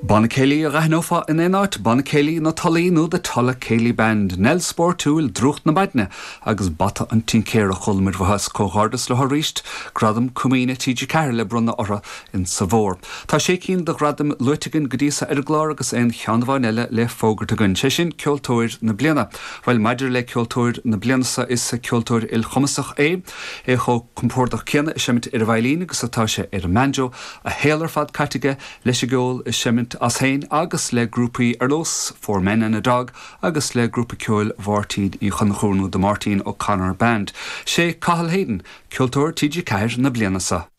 Banna céilí a dh'aithneofá in aon áit, Banna Céilí na Tulaí nó The Tulla Céilí Band, Nell Spóirtiúil, Drúcht na Maidne agus Bata an Tincéara. Chuala muid uathu is comhghairdeas leo arís, Gradam Comaoine TG4 le bronnadh orthu in sa bhfómhar. Tá sé cinn de ghradaim luaite againn go dtí so ar an gclár agus aon cheann amháin eile le fógairt againn, sé sin Ceoltóir na Bliana. Bhuel, maidir le Ceoltóir na Bliana so, is ceoltóir ilchumasach é, é chomh compordach céanna ag seimint ar an veidhlín agus atá sé ar an mbanjo, a shaol ar fad caite aige leis an gceol ag seimint as féin agus le grúpaí ar nós Four Men and a Dog agus le grúpa ceoil Mháirtín Uí Chonchúir nó The Máirtín O'Connor Band. Sé Cathal Hayden ceoltóir TG4 na bliana seo.